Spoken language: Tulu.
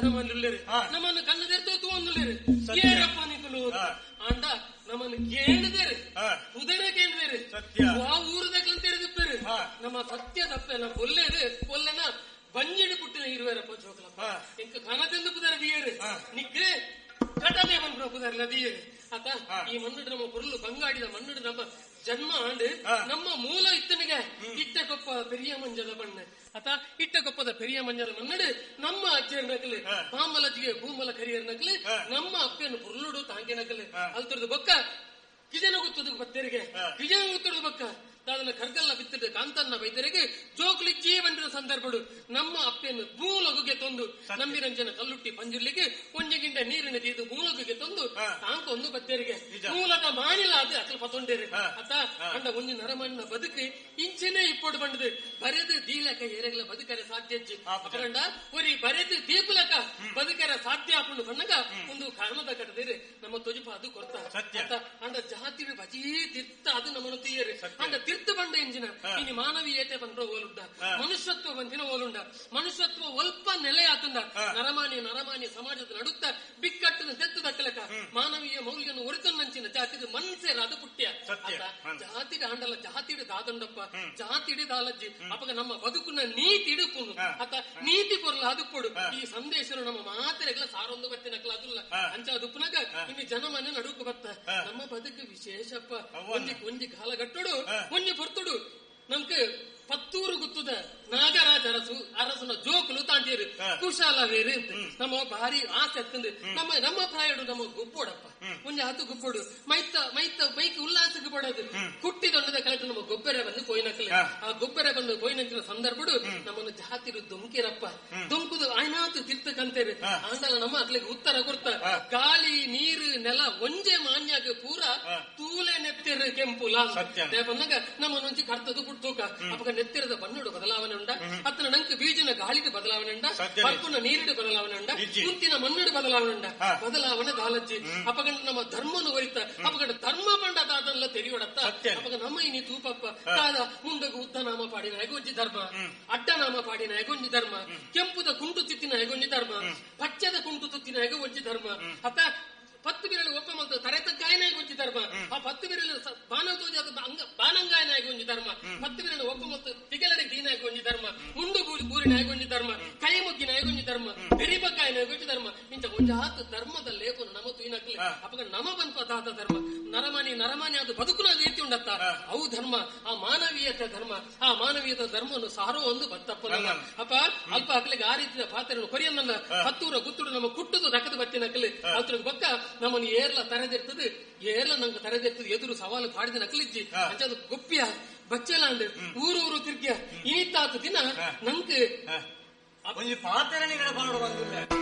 ಜನಮಾನ್ಯುಲ್ಲೇರು ನಮ್ಮನ್ನು ಕಣ್ಣು ತೆರೆದು ತೂವೊಂದುಲ್ಲೇರು ಏರಪ್ಪ ನಿಕುಲು ಆಂಡ ನಮ್ಮನ್ನು ಕೇಳಿದೇರು ಉದರ ಕೇಳಿದೇರು ಆ ಊರುದಕ್ಲಂತ ತೆರೆದಿಪ್ಪೇರು ನಮ್ಮ ಸತ್ಯ ತಪ್ಪೆಲ್ಲ ಒಲ್ಲೇರು ಒಲ್ಲೆನ ಬಂಜಿಡು ಪುಟ್ಟಿನ ಇರುವೇರಪ್ಪ ಜೋಕಲಪ್ಪ ಇಂಕ ಕನದೆಂದು ಪುದರ ದಿಯೇರು ನಿಕ್ಕೆ ಕಟದೆ ಬಂದ್ರು ಪುದರ್ಲ ದಿಯೇರು ಆತ ಈ ಮಣ್ಣು ನಮ್ಮ ಪೊರುಳು ಬಂಗಾಡಿದ ಮಣ್ಣು ನಮ್ಮ ಜನ್ಮ ಆಂಡು ನಮ್ಮ ಮೂಲ ಇತ್ತನಿಗೆ ಇಟ್ಟಕೊಪ್ಪ ಪೆರಿಯ ಮಂಜದ ಬಣ್ಣ ಆತ ಇಟ್ಟಕೊಪ್ಪದ ಪೆರಿಯ ಮಂಜದ ಮನ್ನಡು ನಮ್ಮ ಅಜ್ಜಿಯರ್ ನಕಲು ಪಾಮಲಜ್ಜಿಗೆ ಭೂಮಲ ಕರಿಯರ್ ನಕಲು ನಮ್ಮ ಅಪ್ಪನ ಪುರುಳುಡು ತಾಂಗೆ ನಕಲು ಅಲ್ತರದು ಬೊಕ್ಕ ಕಿಜನ ಗುತ್ತದ ಬತ್ತೆರಿಗೆ ಕಿಜನ ಗುತ್ತದ ಬೊಕ್ಕ ದಾದನ ಕರ್ಗಲ್ಲ ಬಿತ್ತಿದ ಕಾಂತನ್ನ ಬೈದರಿಗೆ ಜೋಕ್ಲಿ ಜೀವನದ ಸಂದರ್ಭಡು ನಮ್ಮ ಅಪ್ಪೆಯನ್ನು ಭೂಲೊಗುಗೆ ತಂದು ನಂಬಿರಂಜನ ಕಲ್ಲುಟ್ಟಿ ಪಂಜುರ್ಲಿಗೆ ಒಂಜೆಗಿಂಡ ನೀರಿನ ತೀದು ಮೂಲೊಗುಗೆ ತಂದು ತಾಂಕ ಒಂದು ಬತ್ತೇರಿಗೆ ಮೂಲದ ಮಾನಿಲ ಅದು ಅಕಲ್ ಪತೊಂಡೇರು ಅತ್ತ ಅಂಡ ಒಂಜಿ ನರಮಣ್ಣ ಬದುಕು ಇಂಚಿನೇ ಇಪ್ಪೊಡು ಬಂಡದು ಬರೆದು ದೀಲಕ ಎರೆಗಲ ಬದುಕರೆ ಸಾಧ್ಯ ಅಪರಂಡ ಒರಿ ಬರೆದು ದೀಪಲಕ ಬದುಕರೆ ಸಾಧ್ಯ ಆಪುಂಡು ಬಣ್ಣಗ ಒಂದು ಕಾರಣದ ಕಟ್ಟದಿರಿ ನಮ್ಮ ತೊಜುಪ ಅದು ಕೊರ್ತ ಅತ್ತ ಅಂಡ ಜಾತಿ ಬಜೀ ತಿರ್ತ ಅದು ನಮ್ಮನ್ನು ತೀಯರು ಅಂಡ ತಿರ್ತ ಬಂಡ ಇಂಜಿನ ಇನಿ ಮಾನವೀಯತೆ ಬಂದ್ರ ಓಲುಂಡ ಮನುಷ್ಯತ್ವ ಬಂದಿನ ಓಲುಂಡ ಮನುಷ್ಯತ್ವ ಒಲ್ಪ ನೆಲೆ ಆತುಂಡ ನರಮಾನಿ ನರಮಾನಿ ಸಮಾಜದ ನಡುತ್ತ ಬಿಕ್ಕಟ್ಟಿನ ದೆತ್ತು ದಕ್ಕಲಕ ಮಾನವೀಯ ಮೌಲ್ಯನ ಒರಿತನ್ನಂಚಿನ ಜಾತಿದ ಮನ್ಸೇರ ಅದು ಪುಟ್ಯ ಜಾತಿಡ ಆಂಡಲ ಜಾತಿಡ ದಾದಂಡಪ್ಪ ಜಾತಿಡ ದಾಲಜ್ಜಿ ಅಪಗ ನಮ್ಮ ಬದುಕುನ ನೀತಿ ಇಡುಪುನು ಅತ ನೀತಿ ಕೊರ್ಲ ಅದು ಕೊಡು ಈ ಸಂದೇಶರು ನಮ್ಮ ಮಾತೆರೆಗಳ ಸಾರೊಂದು ಬತ್ತಿನಕಲ ಅದುಲ್ಲ ಅಂಚ ಅದು ಉಪ್ಪುನಾಗ ಇನ್ನು ಜನಮನೆ ನಡುಕು ಬತ್ತ ನಮ್ಮ ಬದುಕು ವಿಶೇಷಪ್ಪ ಒಂಜಿ ಒಂಜಿ ಕಾಲಗಟ್ಟುಡು ಒಂಜಿ ಪೊರ್ತುಡು ನಮ್ಗೆ ಪತ್ತೂರು ಗುತ್ತದ ನಾಗರಾಜ ಅರಸು ಅರಸನ ಜೋಕುಲು ತಾಂಡೇರು ಕುಶಾಲ ವೇರು ನಮ್ಮ ಭಾರಿ ಆಸೆ ಅತ್ತಂದು ನಮ್ಮ ನಮ್ಮ ಪ್ರಾಯಡು ನಮ್ಮ ಗೊಬ್ಬೋಡಪ್ಪ ಒಂಜಿ ಹತ್ತು ಗೊಬ್ಬೋಡು ಮೈತ ಮೈತ ಮೈಕ್ ಉಲ್ಲಾಸಕ್ಕೆ ಪಡೋದು ಕುಟ್ಟಿ ದೊಡ್ಡದ ಕಲೆಕ್ಟ್ ನಮ್ಮ ಗೊಬ್ಬರ ಬಂದು ಕೊಯ್ನಕಲೆ ಆ ಗೊಬ್ಬರ ಬಂದು ಕೊಯ್ನಂಚಿನ ಸಂದರ್ಭಡು ನಮ್ಮನ್ನು ಜಾತಿರು ದೊಂಕಿರಪ್ಪ ದೊಂಕುದು ಆಯ್ನಾತು ತಿರ್ತಕಂತೇರು ಆಂಡಲ ನಮ್ಮ ಅಕ್ಲಿಗೆ ಉತ್ತರ ಕೊಡ್ತ ಗಾಳಿ ನೀರು ನೆಲ ಒಂಜೆ ಮಾನ್ಯಾಗ ಪೂರ ತೂಲೆ ನೆತ್ತಿರು ಕೆಂಪುಲ ಬಂದಾಗ ನಮ್ಮನ್ನೊಂಜಿ ಕರ್ತದು ಪುಟ್ಟೋಕ ಅಪಗ ನೆತ್ತಿರದ ಬಣ್ಣಡು ಬದಲಾವಣೆ ಉಂಡ ಅತ್ತನ ನಂಕ್ ಬೀಜನ ಗಾಳಿದ ಬದಲಾವಣೆ ಉಂಡ ಪರ್ಪುನ ನೀರಿಡು ಬದಲಾವಣೆ ಉಂಡ ಕುಂತಿನ ಮಣ್ಣಡು ಬದಲಾವಣೆ ಉಂಡ ಬದಲಾವಣೆ ದಾಲಜ್ಜಿ ಅಪಗಂಡ ನಮ್ಮ ಧರ್ಮನು ಒರಿತ ಅಪಗಂಡ ಧರ್ಮ ಪಂಡ ದಾದಲ್ಲ ತೆರಿಯೋಡತ್ತ ಅಪಗ ನಮ್ಮ ಇನಿ ತೂಪಪ್ಪ ದಾದ ಮುಂಡಗು ಉದ್ದ ನಾಮ ಪಾಡಿನ ಹೆಗೊಂಜಿ ಧರ್ಮ ಅಡ್ಡ ನಾಮ ಪಾಡಿನ ಹೆಗೊಂಜಿ ಧರ್ಮ ಕೆಂಪುದ ಕುಂಟು ತಿತ್ತಿನ ಹೆಗೊಂಜಿ ಧರ್ಮ ಪಚ್ಚದ ಕುಂಟು ತುತ್ತಿನ ಹೆಗೊಂಜಿ ಧರ್ಮ ಅತ್ತ ಪತ್ತು ಬಿರಲು ಒಪ್ಪ ಮತ್ತು ತರೆತಗ್ಗಾಯನಾಗಿ ಒಂಜಿ ಧರ್ಮ ಆ ಪತ್ತು ಬಿರಲು ಬಾನತೋಜಾದ ಬಾನಂಗಾಯನಾಗಿ ಒಂಜಿ ಧರ್ಮ ಪತ್ತು ಬಿರಲು ಒಪ್ಪ ಮತ್ತು ತಿಗಲಡೆ ದೀನಾಗಿ ಒಂಜಿ ಧರ್ಮ ಮುಂಡು ಬೂರಿನಾಗಿ ಒಂಜಿ ಧರ್ಮ ಕೈ ಮುಗ್ಗಿನಾಗಿ ಒಂಜಿ ಧರ್ಮ ಬೆರಿಬಕ್ಕಾಯನಾಗಿ ಒಂಜಿ ಧರ್ಮ ಇಂಚ ಒಂಜಾತ ಧರ್ಮದ ಲೇಖನ ನಮ ತುಯಿನಕ್ಲೆ ಅಪಗ ನಮ ಬಂತ ಧರ್ಮ ನರಮಾನಿ ನರಮಾನಿ ಅದು ಬದುಕುನ ರೀತಿ ಉಂಡತ್ತ ಅವು ಧರ್ಮ ಆ ಮಾನವೀಯತೆ ಧರ್ಮ ಆ ಮಾನವೀಯತೆ ಧರ್ಮವನ್ನು ಸಾರೋ ಒಂದು ಬತ್ತಪ್ಪ ಅಪ್ಪ ಅಲ್ಪ ಅಕ್ಲಿಗೆ ಆ ರೀತಿಯ ಪಾತ್ರೆಯನ್ನು ಕೊರಿಯನ್ನ ಹತ್ತೂರ ಗುತ್ತುಡು ನಮ್ಮ ಕುಟ್ಟುದು ದಕ್ಕದ ಬತ್ತಿನಕ್ಲೆ ಅತ್ರ ಬಕ್ಕ ನಮ್ಮನ್ನು ಏರ್ಲ ತರೆದಿರ್ತದೆ ಏರ್ಲ ನಂಗೆ ತರೆದಿರ್ತದೆ ಎದುರು ಸವಾಲು ಪಾಡಿದ ನಕಲಿಜ್ಜಿ ಅಂಚದು ಗೊಪ್ಪಿಯ ಬಚ್ಚಲ ಅಂದ್ ಊರು ಊರು ತಿರ್ಗಿಯ ಇನಿತಾತ ದಿನ ನಂಗೆ ಪಾತ್ರೆ ಬಂದಿಲ್ಲ.